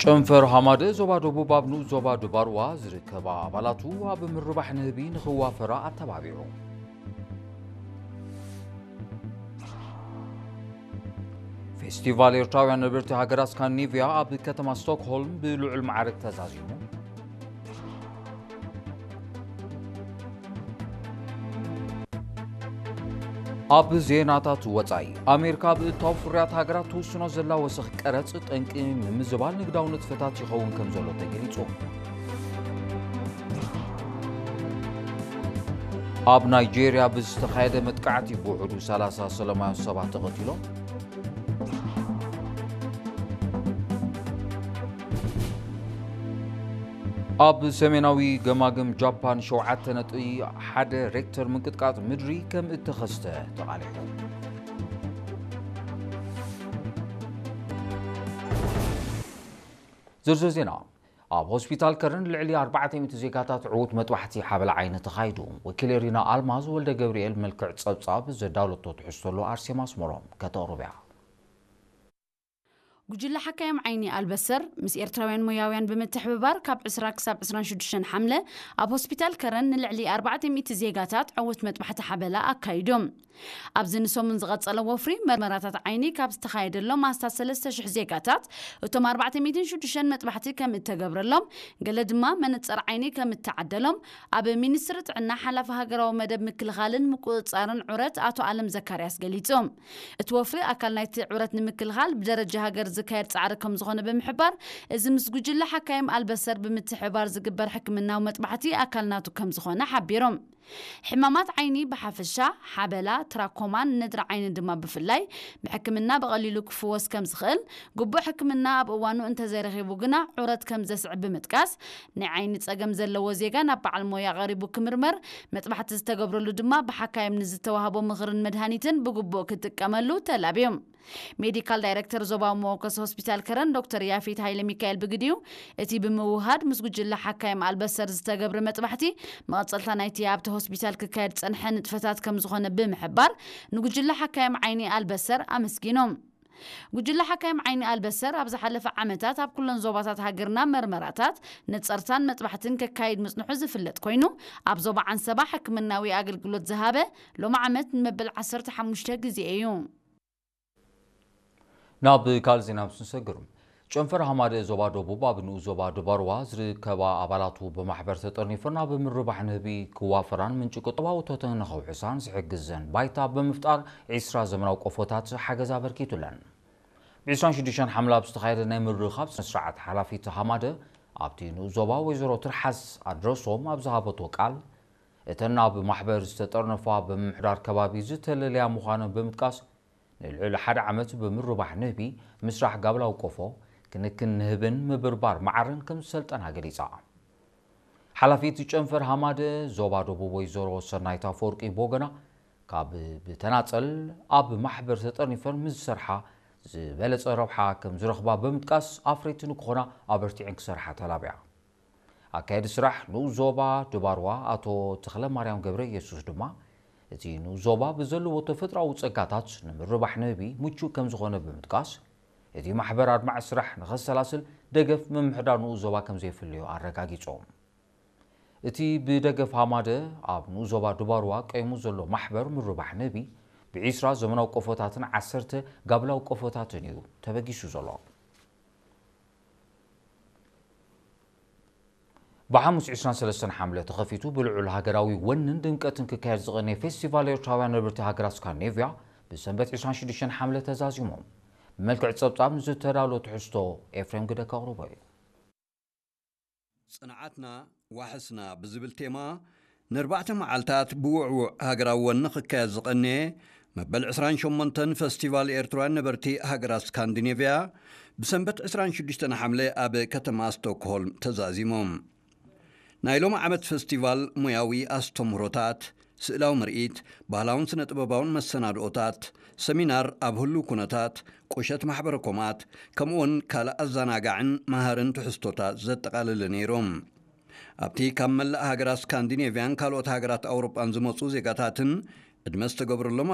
ጨንፈር ሃማደ ዞባ ደቡብ ኣብ ንኡስ ዞባ ድባርዋ ዝርከባ ኣባላቱ ኣብ ምርባሕ ንህቢ ንኽዋፈራ ኣተባቢዑ። ፌስቲቫል ኤርትራውያን ነበርቲ ሃገራት ስካንዲኔቭያ ኣብ ከተማ ስቶክሆልም ብልዑል ማዕርግ ተዛዚሙ። ኣብ ዜናታት ወጻኢ፣ ኣሜሪካ ኣብ እታው ፍርያት ሃገራት ትውስኖ ዘላ ወሰኽ ቀረጽ ጠንቂ ንምዝባል ንግዳዊ ንጥፈታት ይኸውን ከም ዘሎ ተገሊጹ። ኣብ ናይጄርያ ብዝተኻየደ መጥቃዕቲ ብውሕዱ ሰላሳ ሰላማውያን ሰባት ተቐቲሎም። ኣብ ሰሜናዊ ገማግም ጃፓን ሸውዓተ ነጥቢ ሓደ ሬክተር ምንቅጥቃጥ ምድሪ ከም እተኸስተ ተቓሊሑ። ዝርዝር ዜና። ኣብ ሆስፒታል ከረን ልዕሊ ኣርባዕተ ሚእቲ ዜጋታት ዕዉት መጥባሕቲ ሓበላ ዓይኒ ተኻይዱ። ወኪል ኤሪና ኣልማዝ ወልደ ገብርኤል መልክዕ ጸብጻብ ዘዳለቶ ትሕዝቶ ኣሎ። ኣርሴማ ኣስመሮም ከተቕርብያ። ጉጅለ ሓካይም ዓይኒ ኣልበሰር ምስ ኤርትራውያን ሞያውያን ብምትሕብባር ካብ ዕስራ ክሳብ ዕስራን ሽዱሽተን ሓምለ ኣብ ሆስፒታል ከረን ንልዕሊ ኣርባዕተ ሚእቲ ዜጋታት ዕዉት መጥባሕቲ ሓበላ ኣካይዶም። ኣብዚ ንሰሙን ዝቐጸለ ወፍሪ መርመራታት ዓይኒ ካብ ዝተኻየደሎም ኣስታት ሰለስተ ሽሕ ዜጋታት፣ እቶም ኣርባዕተ ሚእትን ሽዱሽተን መጥባሕቲ ከም እተገብረሎም፣ ገለ ድማ መነጸር ዓይኒ ከም እተዓደሎም ኣብ ሚኒስትሪ ጥዕና ሓላፊ ሃገራዊ መደብ ምክልኻልን ምቁጽጻርን ዑረት ኣቶ ኣለም ዘካርያስ ገሊጾም። እቲ ወፍሪ ኣካል ናይቲ ዑረት ንምክልኻል ብደረጃ ሃገር ዝካየድ ጻዕሪ ከም ዝኾነ ብምሕባር፣ እዚ ምስ ጉጅለ ሓካይም ኣልበሰር ብምትሕብባር ዝግበር ሕክምናዊ መጥባሕቲ ኣካል ናቱ ከም ዝኾነ ሓቢሮም። ሕማማት ዓይኒ ብሓፈሻ፣ ሓበላ፣ ትራኮማን ነድሪ ዓይኒ ድማ ብፍላይ፣ ብሕክምና ብቐሊሉ ክፍወስ ከም ዝኽእል፣ ግቡእ ሕክምና ኣብ እዋኑ እንተዘይረኺቡ ግና ዑረት ከም ዘስዕብ ብምጥቃስ፣ ናይ ዓይኒ ጸገም ዘለዎ ዜጋ ናብ በዓል ሞያ ቀሪቡ ክምርመር፣ መጥባሕቲ ዝተገብረሉ ድማ ብሓካይም ንዝተዋህቦ ምኽርን መድሃኒትን ብግቡእ ክጥቀመሉ ተላብዮም። ሜዲካል ዳይሬክተር ዞባዊ መወከሲ ሆስፒታል ከረን ዶክተር ያፌት ሃይለ ሚካኤል ብግዲኡ፣ እቲ ብምውሃድ ምስ ጉጅለ ሓካይም ኣልበሰር ዝተገብረ መጥባሕቲ መቐጸልታ ናይቲ ኣብቲ ሆስፒታል ክካየድ ዝጸንሐ ንጥፈታት ከም ዝኾነ ብምሕባር፣ ንጉጅለ ሓካይም ዓይኒ ኣልበሰር ኣመስጊኖም። ጉጅለ ሓካይም ዓይኒ ኣልበሰር ኣብ ዝሓለፈ ዓመታት ኣብ ኩለን ዞባታት ሃገርና መርመራታት፣ ነጸርታን መጥባሕትን ከካይድ ምጽንሑ ዝፍለጥ ኮይኑ፣ ኣብ ዞባ ዓንሰባ ሕክምናዊ ኣገልግሎት ዝሃበ ሎሚ ዓመት ንመበል ዓሰርተ ሓሙሽተ ግዜ እዩ። ናብ ካልእ ዜና ምስ ንሰግር፣ ጨንፈር ሃማደ ዞባ ደቡብ ኣብ ንኡስ ዞባ ድባርዋ ዝርከባ ኣባላቱ ብማሕበር ተጠርኒፈን ኣብ ምርባሕ ንህቢ ክዋፈራን ምንጪ ቁጠባዊ እቶተን ንኸውሕሳን ዝሕግዘን ባይታ ብምፍጣር ዒስራ ዘመናዊ ቆፎታት ሓገዝ ኣበርኪቱለን። ብ ዒስራን ሽዱሽተን ሓምለ ኣብ ዝተኻየደ ናይ ምርኻብ ስነስርዓት ሓላፊት ሃማደ ኣብቲ ንኡስ ዞባ ወይዘሮ ትርሓስ ኣድረሶም ኣብ ዝሃበቶ ቃል፣ እተን ኣብ ማሕበር ዝተጠርነፋ ብምምሕዳር ከባቢ ዝተለለያ ምዃነን ብምጥቃስ፣ ንልዕሊ ሓደ ዓመት ብምርባሕ ንህቢ፣ ምስራሕ ጋብላዊ ቆፎ፣ ክንክን ንህብን ምብርባር መዓርን ከም ዝሰልጠና ገሊጻ። ሓላፊት ጨንፈር ሃማደ ዞባ ደቡብ ወይዘሮ ሰናይት ኣፈወርቂ ብወገና፣ ካብ ብተናጸል ኣብ ማሕበር ተጠርኒፈን ምስ ዝሰርሓ ዝበለጸ ረብሓ ከም ዝረኽባ ብምጥቃስ፣ ኣፍረይቲ ንክኾና ኣበርቲዐን ክሰርሓ ተላብያ። ኣካየዲ ስራሕ ንኡስ ዞባ ድባርዋ ኣቶ ተኽለማርያም ገብረ ኢየሱስ ድማ፣ እቲ ንኡስ ዞባ ብዘለዎ ተፈጥሮኣዊ ጸጋታት ንምርባሕ ንህቢ ምቹእ ከም ዝኾነ ብምጥቃስ፣ እቲ ማሕበር ኣድማዒ ስራሕ ንኸሰላስል ደገፍ ምምሕዳር ንኡስ ዞባ ከም ዘየፍልዮ ኣረጋጊጾም። እቲ ብደገፍ ሃማደ ኣብ ንኡስ ዞባ ድባርዋ ቀይሙ ዘሎ ማሕበር ምርባሕ ንህቢ፣ ብዒስራ ዘመናዊ ቆፎታትን ዓሰርተ ጋብላዊ ቆፎታትን እዩ ተበጊሱ ዘሎ። ብሓሙስ ዒስራን ሰለስተን ሓምለ ተኸፊቱ ብልዑል ሃገራዊ ወንን ድምቀትን ክካየድ ዝቐነየ ፌስቲቫል ኤርትራውያን ነበርቲ ሃገራት ስካንዲኔቭያ ብሰንበት ዒስራን ሽዱሽተን ሓምለ ተዛዚሙ። ብመልክዕ ጸብጻብ ንዝተዳሎ ትሕዝቶ ኤፍሬም ግደ ከቕርቦ እዩ። ጽንዓትና ዋሕስና ብዝብል ቴማ ንኣርባዕተ መዓልታት ብውዕዉዕ ሃገራዊ ወኒ ክካየድ ዝቐነየ መበል ዕስራን ሸሞንተን ፈስቲቫል ኤርትራውያን ነበርቲ ሃገራት ስካንዲኔቭያ ብሰንበት ዕስራን ሽዱሽተን ሓምለ ኣብ ከተማ ስቶክሆልም ተዛዚሙ። ናይ ሎሚ ዓመት ፈስቲቫል ሞያዊ ኣስተምህሮታት፣ ስእላዊ ምርኢት፣ ባህላውን ስነ-ጥበባውን መሰናድኦታት፣ ሰሚናር ኣብ ህሉው ኩነታት፣ ቁሸት ማሕበረ ኮማት፣ ከምኡውን ካልእ ኣዘናጋዕን መሃርን ትሕዝቶታት ዘጠቓለለ ነይሩ። ኣብቲ ካብ መላእ ሃገራት ስካንዲኔቭያን ካልኦት ሃገራት ኣውሮጳን ዝመጹ ዜጋታትን ዕድመ ዝተገብረሎም